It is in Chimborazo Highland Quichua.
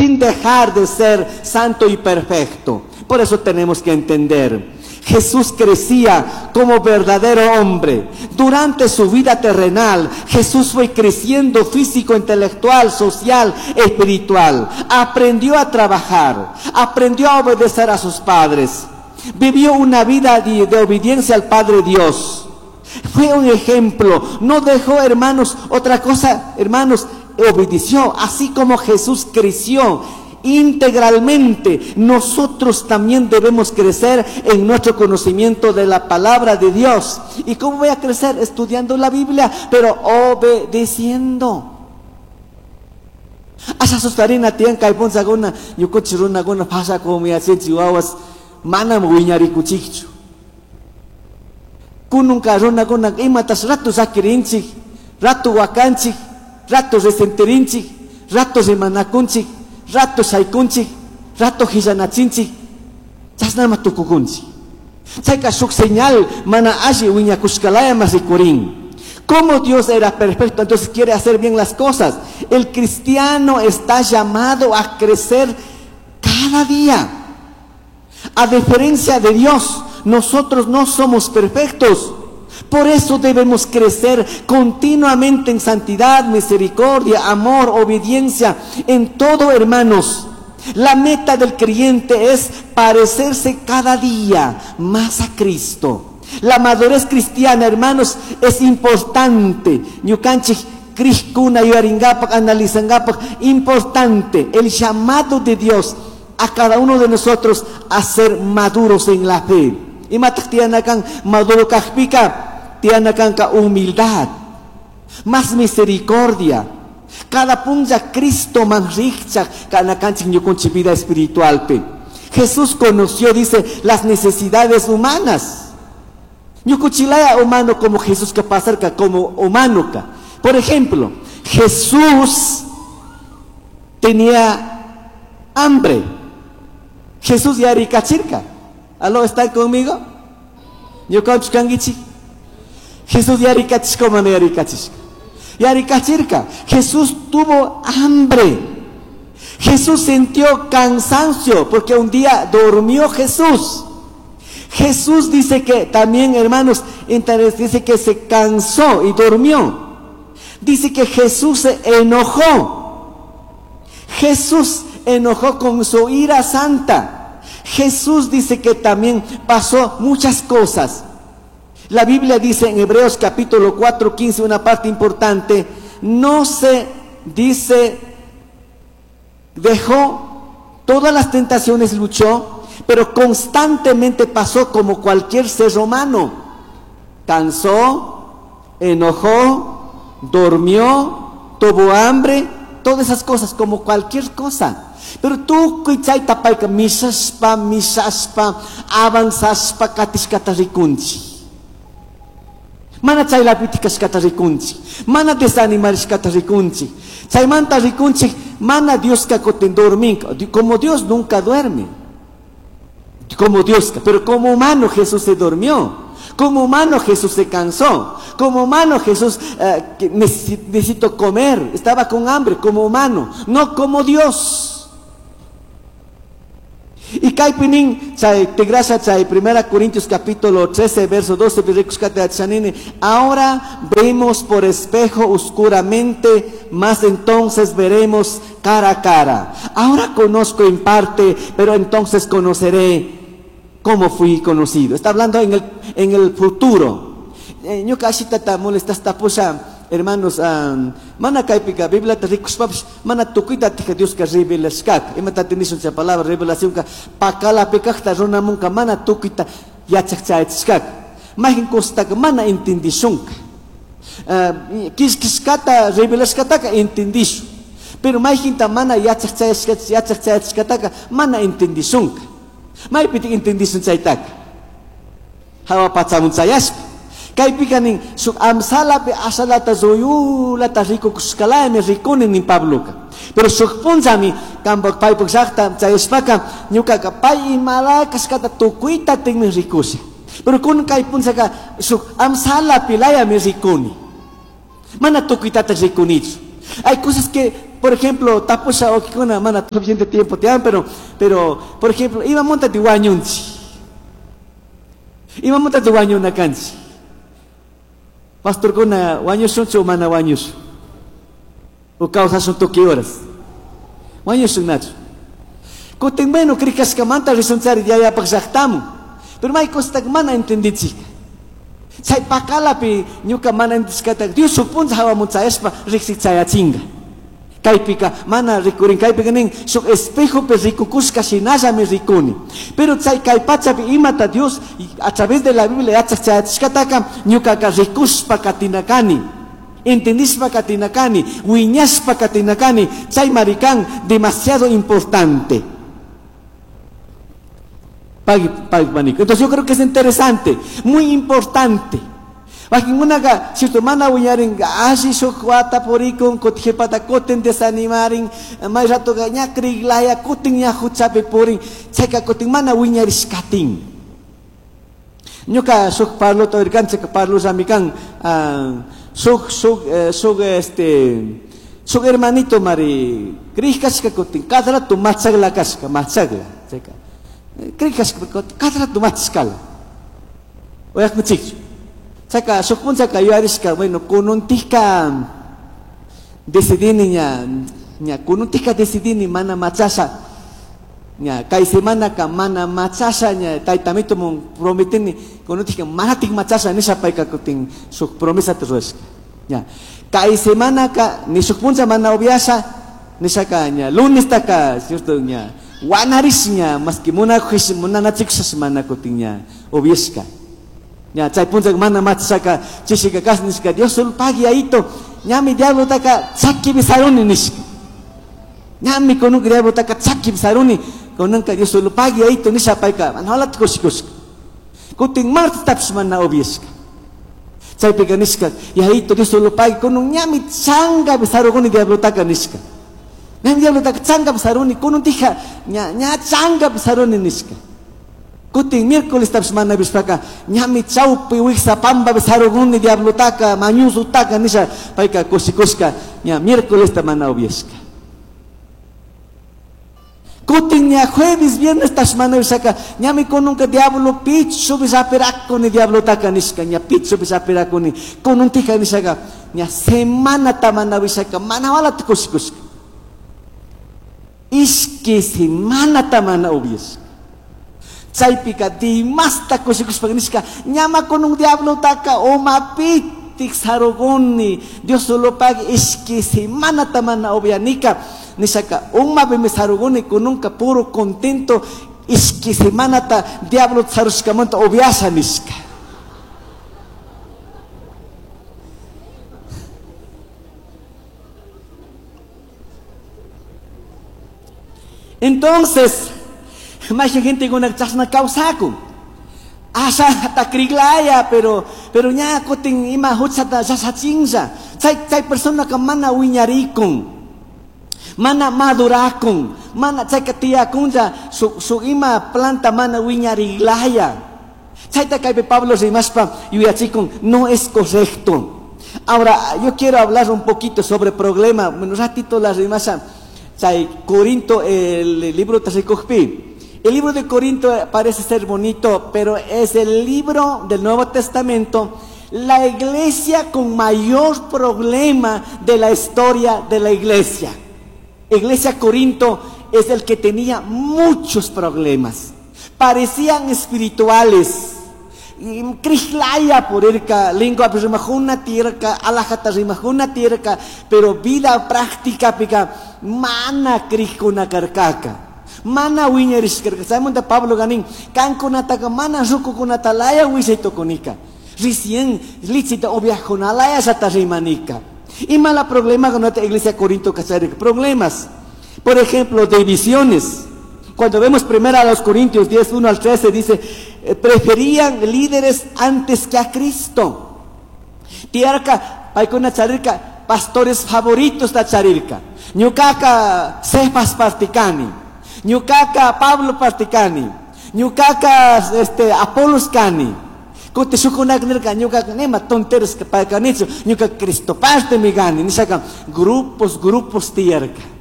Sin dejar de ser santo y perfecto. Por eso tenemos que entender. Jesús crecía como verdadero hombre. Durante su vida terrenal, Jesús fue creciendo físico, intelectual, social, espiritual. Aprendió a trabajar, aprendió a obedecer a sus padres. Vivió una vida de obediencia al Padre Dios. Fue un ejemplo. No dejó, hermanos, otra cosa, hermanos, obedeció. Así como Jesús creció integralmente, nosotros también debemos crecer en nuestro conocimiento de la palabra de Dios. ¿Y cómo voy a crecer? Estudiando la Biblia, pero obedeciendo. Asha sustarina tiyan kay punzhakuna ñukunchik runakuna pashakunmi wawas manam wiñarikuchikchu. Kununka runakuna imatas rato sakirinchik, rato wakanchik, rato resentirinchik, rato rimanakunchik, rato shaykunchik, rato hillanachinchik, chashnama tukukunchik. Chayka shuk señal mana alli wiñakushkalaya mas rikurin. Como Dios era perfecto, entonces quiere hacer bien las cosas. El cristiano está llamado a crecer cada día. A diferencia de Dios, nosotros no somos perfectos. Por eso debemos crecer continuamente en santidad, misericordia, amor, obediencia, en todo, hermanos. La meta del creyente es parecerse cada día más a Cristo. La madurez cristiana, hermanos, es importante. Ñukanchik crishkuna yuyaringapak, analizangapak, importante el llamado de Dios a cada uno de nosotros a ser maduros en la fe. Imataj tiyanakan maduro kajpika, tiyanakanka humildad, más misericordia. Cada punlla Cristo man rikchak kanakanchik ñukunchik vida espiritualpi. Jesús conoció, dice, las necesidades humanas. Ñukuchilaya humano como Jesús que pasarca como humano ka. Por ejemplo, Jesús tenía hambre. Jesús yarikachirka. ¿Aló, están conmigo? Ñukanchik kankichik. Jesús yarikachishka mana yarikachishka. Yarikachirka. Jesús tuvo hambre. Jesús sintió cansancio porque un día durmió Jesús. Jesús dice que también, hermanos, dice que se cansó y durmió. Dice que Jesús se enojó. Jesús enojó con su ira santa. Jesús dice que también pasó muchas cosas. La Biblia dice en Hebreos capítulo 4, 15, una parte importante, no se dice, dejó todas las tentaciones, luchó, pero constantemente pasó como cualquier ser humano. Cansó, enojó, durmió, tuvo hambre, todas esas cosas, como cualquier cosa. Pero tukuy chayta payka mishashpa, mishashpa, avanzashpa katishkata rikunchik. Mana chaylapitik kashkata rikunchik, mana desanimarishkata rikunchik. Chaymanta rikunchik, mana Dioska kutin dorminka, como Dios nunca duerme. Como Dios, pero como humano Jesús se durmió. Como humano Jesús se cansó. Como humano Jesús que necesitó comer. Estaba con hambre como humano, no como Dios. Y kaypi chay tigrasha chay 1 Corintios capítulo 13 verso 12, ahora vemos por espejo oscuramente, mas entonces veremos cara a cara. Ahora conozco en parte, pero entonces conoceré como fui conocido. Está hablando en el futuro. Ñuka ashitata molestasta pusha, hermanos, mana kaypika Bibliata rikushpapish mana tukuyta tika Dioska revelashkaka. Imata nishun chay palabra revelación ka pakalapi kajta runamunka mana tukuyta yachaj chayachishkaka. Mayqin cosataka mana entendishunka. Kishkishkata revelashkataka entendishun. Pero mayqinta mana yachaj chayachishkataka mana entendishunka. Maypitik entendishun chaytaka. Hawa pachamun chayashpa. Kaypika nin shuk amsalapi ashalata zuyulata rikukushkalaymi rikuni nin Pabloka. Pero shuk punllami kanpak paypak llaqta chayashpaka ñukaka pay imala kashkata tukuyta tinmi rikusha. Pero kunan kay punllaka shuk amsalapi layami rikuni. Mana tukuytata rikunichu. Hay cosas que Por ejemplo, tapusha wawqikuna mana suficiente tiempo tiyan, pero por ejemplo, imamantati wañunchik? Imamantati wañuna kanchik? Pastorkuna wañushunchu o mana wañushun? O kawsashun tukuy horas? Wañushun nachu? Kutin bueno krikashkamanta rishunchari yayapaq llaqtamun. Pero may cosata mana entendichik. Chay pakalapi ñuka mana entendishkata Dios shuk punlla hawamun chayashpa riksichayachinga. Kaypika mana rikurin, kaypika nin shuk espejopi rikukushka shinallami rikuni. Pero chay kay pachapi imata Dios a través de la Biblia yachaq chayachishkataka ñukaka rikushpa katinakani, entendishpa katinakani, wiñashpa katinakani. Chay marikan demasiado importante. Pagui, pagui, panico. Entonces yo creo que es interesante, muy importante. Wakinkunaqa, cierto, mana wiñarin, alli shuk wata purikun, kutijipata kutin desanimarin, may ratoqa ña kriglaya, kutin ña huchapi purin, chayka kutin mana wiñarishkatin. Ñuka shuk parlota oirkanchik, parlullami kan, shuk, shuk, shuk, este, shuk hermanito mari, krigkashka kutin, cada rato machagla kashka, machagla, chayka. Krigkashka kutin, cada rato machashkala. Oyaqmuchikchu. Chayka, shuk punchaka yuyarishka, bueno, kununtika decidini ña, ña, kununtika decidini mana machasha, ña, kay semanaka mana machasha, ña, taytamito mun prometini, kununtika manatik machasha, nisha payka kutin shuk promesata rurashka, ña, kay semanaka, ni shuk puncha mana upiasha, nishaka, ña, lunestaka, cierto, ña, wanarish, ña, maski munakush, munanachikushash mana kutin, ña, upiashka. Ña, chay puncha mana machashaka, chishika kas nishka, Dios solo pagui ahito, ñami diablo taka chaki bisaruni nishka. Ñami konunka diablo taka chaki bisaruni, konunka Dios solo pagui ahito nisha payka, mana holat kushikushka. Kutin martes tapsh mana obieshka. Chaypika nishka, y ahito Dios solo pagui, konun ñami changa bisaruguni diablo taka nishka. Ñami diablo taka changa bisaruni, konun tija, ña, ña changa bisaruni nishka. Kutin miércoles tapsh mana bishpaka, ñami chaupi wiksa pamba bisaruguni diablo taka, mañuzu taka nisha, payka kushikushka, ña miércoles ta mana obieshka. Kutin ña jueves, viernes tapsh mana bishaka, ñami konunka diablo pichu bisapirakuni diablo taka nishka, ña pichu bisapirakuni, konun tija nishaka, ña semana ta mana bishaka, mana wala kushikushka. Ishki semana ta mana obieshka. Chaypika dimasta kushikushpa nishka, ñama con un diablo taka oma pitik saruguni, Dios solo pague ishki semana tamana obianika, nishaka uma bime saruguni kununka puro contento, ishki semana ta diablo sarushkamanta obiasa nishka. Entonces, más gente con una chasna causaku. Asa takriglaya, pero ña kutin ima huchata sasachinza. Chay, chay persona ka mana wiñarikun, mana madurakun, mana chay ka tiyakunza, su ima planta mana wiñariglaya. Chay ta kaypi Pablo rimaspa yuyachikun, no es correcto. Ahora, yo quiero hablar un poquito sobre problema. Bueno, ratito la rimasa. Chay Corinto, el libro Tasikujpi. El libro de Corinto parece ser bonito, pero es el libro del Nuevo Testamento, la iglesia con mayor problema de la historia de la iglesia. Iglesia Corinto es el que tenía muchos problemas. Parecían espirituales. Krislaya por irka, lengua rimajuna tierka, alajata rimajuna tierka, pero vida práctica pica, mana krikuna karkaka. Mana wiñarishkarka. Chaymanta Pablo ganin, kankunataka mana rukukunatalaya wisaytukunika. Recién lichita oviajunalaya sata rimanika. Y mala problema con nuestra iglesia Corinto Casareca. Problemas. Por ejemplo, divisiones. Cuando vemos primero a los Corintios 10, 1 al 13, dice, preferían líderes antes que a Cristo. Tiarca, paikuna charirka, pastores favoritos da charirka. Ñukaka, Cefas particani. Ñukaka, Pablo particani. Ñukaka, Apolos cani. Cutin shujcunaca nirca, ñucaca nima tonteros canichu, ñuca Cristo partemi cani. Nishaca grupos, grupos tiyarca.